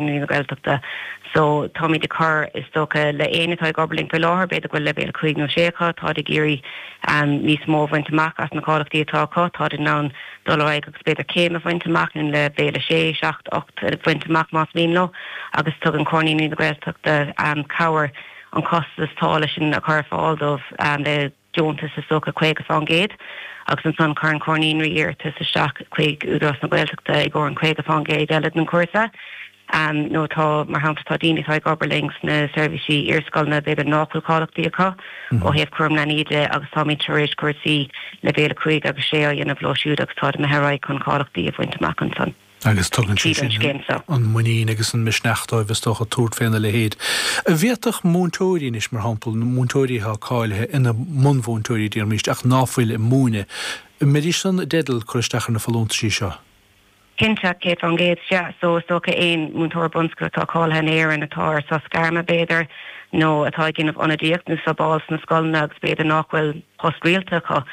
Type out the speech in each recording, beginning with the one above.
Naíonraí na Gaeltachta. So, táimid ag cur, is dócha, le éinne atá ag obair linn faoi láthair, b'fhéidir go bhfuil leibhéal 5 nó 6 acu, táid ag iarraidh níos mó a bhaint amach as na cáilíochtaí atá acu, táid in ann dul ar aghaidh agus b'fhéidir céim a bhaint amach nó leibhéal 6, 7, 8 a bhaint amach más mian leo agus tugann Comhar Naíonraí na Gaeltachta cabhair an costas táille sin a chur ar fáil dóibh le deontas is dócha 50% agus ansan cuireann Comhar Naíonraí iarratas isteach chuig Údarás na Gaeltachta i gcomhair an 50% eile den chúrsa. Nó tá, mar shampla, tá daoine atá ag obair linn sna seirbhísí iarscoileanna b'fhéidir nach bhfuil cáilíochtaí acu ó thaobh cúram leanaí de agus táimid tar éis cúrsaí leibhéal 5 agus 6 á dhéanamh leo siúd agus táid imithe ar aghaidh chun cáilíochtaí a bhaint amach ansan. Agus tugann sé tríd an sin scéim seo. an muinín agus an misneach dóibh, is dócha, tabhairt féna leithéid. An bhféadfadh múinteoirí anois, mar shampla, múinteoirí atá cáilithe ina mbunmhúinteoirí, déarfaimíst, ach ná fuil ag múineadh, an mbeidís san i dteideal cur isteach ar na folúntaisí seo? Cinnte, 100%, sea. So, is dócha aon múinteoir bunscoile atá cáilithe in Éirinn atá ar sos gairme, b'fhéidir, nó atá ag déanamh ionadaíocht nó subáil sna scoileanna agus b'fhéidir nach bhfuil post rialta acu,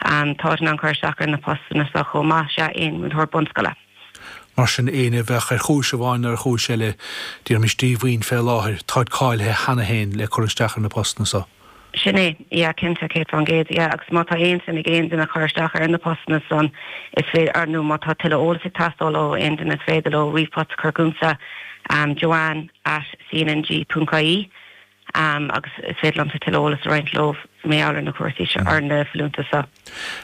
Táid in ann cur isteach ar na postanna seo chomh maith, sea, aon mhúinteoir bunscoile. Mar sin, éinne a bheadh ar chúis amháin nó ar chúis eile, déarfaimis díomhaoin fé láthair, táid cáilithe cheana féin le cur isteach ar na postanna so. Sin é, yeah, cinnte, 100%, yeah, agus má tá aon suim ag aon duine cur isteach ar na postanna san, is féidir, nó má tá tuilleadh eolais ag teastáil ó aon duine, is féidir leo ríomhphost a chur chugamsa, joanne at cnng ponc ie. agus is féidir liomsa tuilleadh eolais a roinnt leo mar gheall ar na cúrsaí seo, ar na folúntais seo.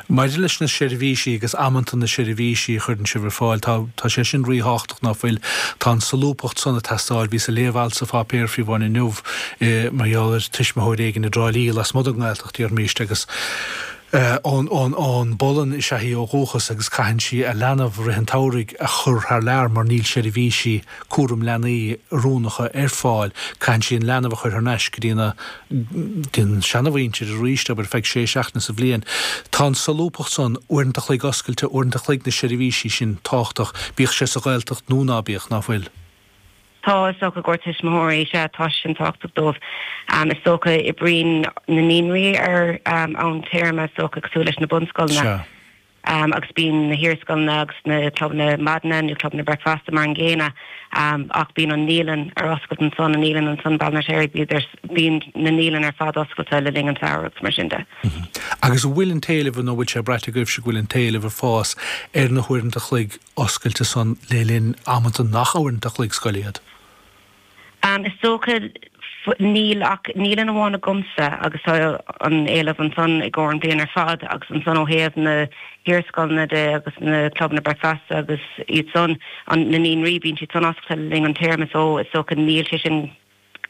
Maidir leis na seirbhísí agus amanta na seirbhísí a chuireann sibh ar fáil, tá, tá sé sin ríthábhachtach ná fuil, tá an solúbthacht san ag teastáil. Bhíos ag léamh alt sa pháipéar fiú amháin inniu mar gheall ar tuismitheoir éigin i dTrá Lí lasmuigh den nGaeltacht, déarfaimíst, agus ón, ón, ón bPolainn is ea í ó dhúchas agus caitheann sí a leanbh rith an tsamhraidh a chur thar lear mar níl seirbhísí cúram leanaí oiriúnacha ar fáil, caitheann sí an leanbh a chur thar n-ais go dtí na dtí an seanamhuintir arís, abair, ar feadh sé seachtaine sa bhliain. Tá an solúbthacht san, uaireanta a chloig oscailte, uaireanta a chloig na seirbhísí sin tábhachtach, bíodh sé sa Ghaeltacht nó ná bíodh, ná fuil? Tá, is dócha, i gcomhair tuismitheoirí, sea, tá sé sin tábhachtach dóibh. Is dócha, oibríonn na naíonraí ar am téarma, is dócha, cosúil leis na bunscoileanna. Sea. Agus bíonn na hiarscoileanna agus na clubanna maidine nó clubanna bricfeasta mar an gcéanna ach bíonn an naíolann ar oscailt ansan, an naíolann ansan i Baile an Fheirtéaraigh, bíonn na naíolanna ar fad oscailte le linn an tsamhraidh agus mar sin de. Agus an bhfuil an t-éileamh nó an bhfuil sé braite agaibhse go bhfuil an t-éileamh ag fás ar na huaireanta a chloig oscailte san le linn amanta nach uaireanta a chloig scoile iad? Is dócha, níl ach naíolann amháin agamsa agus tá an éileamh ansan i gcomhair an bhliain ar fad agus ansan ó thaobh na hiarscoileanna de agus na clubanna bricfeasta agus iad san, an, na naíonraí, bíonn siad san oscailte le linn an téarma so is dócha níl sé sin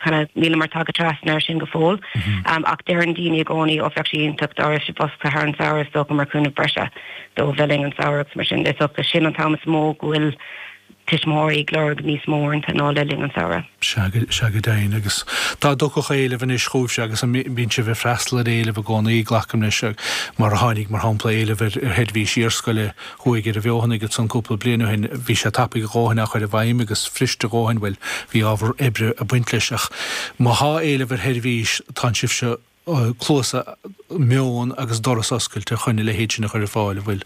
kind of, níleamar tagtha trasna air sin go fóill. Ach deireann daoine i gcónaí ó bheadh sé iontach dá raibh sibh oscailte thar an samhradh is dócha mar chúnamh breise dóibh le linn an samhradh agus mar sin de. Is dócha sin an t-am is mó go bhfuil tuismitheoirí ag lorg níos mó uaireanta ná le linn an tsamhraidh. Sea, sea go deimhin. Agus dá dtiocfadh éileamh anois chugaibhse, agus an mbíonn sibh ag freastal ar éileamh i gcónaí, glacaim leis, mar a tháinig, mar shampla, éileamh ar sheirbhís iarscoile thuaidh ar an bhFeothanaigh ansan cúpla bliain ó shin, bhí sé tapaidh a dhóthain á chur i bhfeidhm agus fuirist a dhóthain, bhuel, bhí ábhar oibre ag baint leis. Ach má thá éileamh ar sheirbhís, tánn sibhse cluasa, meon agus doras oscailte chun a leithéid sin a chur ar fáil, an bhfuil?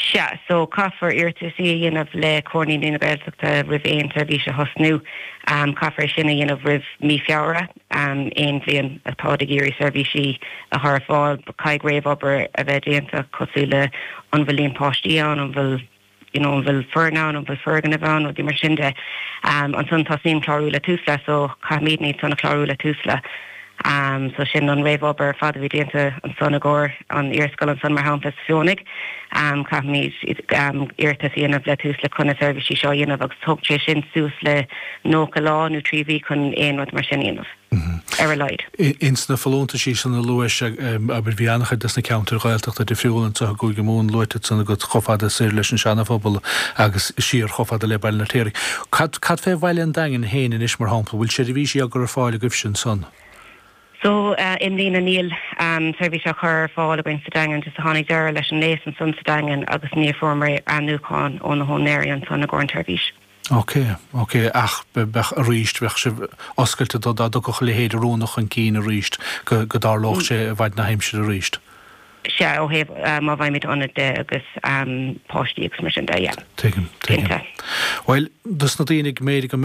Sea, so caithfear iarrataisí a dhéanamh le Comhar Naíonraí na Gaeltachta roimh aon seirbhís a thosnú. Caithfear é sin a dhéanamh roimh mí Feabhra aon bhliain atáid ag iarraidh seirbhísí a chur ar fáil. Caithfidh réamhobair a bheith déanta cosúil le an bhfuil líon páistí ann, an bhfuil. you know an bhfuil foireann ann, an bhfuil foirgneamh ann, rudaí mar sin de. Ansan tosaíonn clárú le Tusla so caithfimidne iad san a chlárú le Tusla. So sin an réamhobair ar fad a bhí déanta ansan i gcomhair an iarscoil ansan mar shampla sa Fheothanaigh. Caithfimid iarratas a dhéanamh le Tusla chun na seirbhísí seo a dhéanamh agus tógann sé sin suas le 90 lá nó 3 mhí chun aon rud mar sin a dhéanamh. ar a laghad. Ins na folúntaisí san a luais, abair, bhí an-chuid des na ceantair Ghaeltachta difriúla anso i gCúige Mumhan luaite ansan agat chomh fada soir leis an Seana-Phobal agus siar chomh fada le Baile an Fheirtéaraigh. Cad, cad fé bhaile an Daingin féin anois, mar shampla, bhfuil seirbhísí á gcur ar fáil agaibhse ansan? So, i mbliana níl seirbhís á chur ar fáil againn sa Daingean, just tháinig deireadh leis an léas ansan sa Daingean agus níor fuaireamar ainmniúchán ó na húinéirí ansan i gcomhair an tseirbhís. Ok, ok, ach bheadh arís, bheadh sibh oscailte do dá dtiocfadh a leithéid oiriúnach chun cinn arís, go go dtarlódh sé i bhfaid na haimsire arís. Sea, ó thaobh má bhfaighimid ionad de agus páistí agus mar sin de, yeah. Tuigim, tuigim. Cinnte. Bhuel, dos na daoine go mb'fhéidir go mbeadh.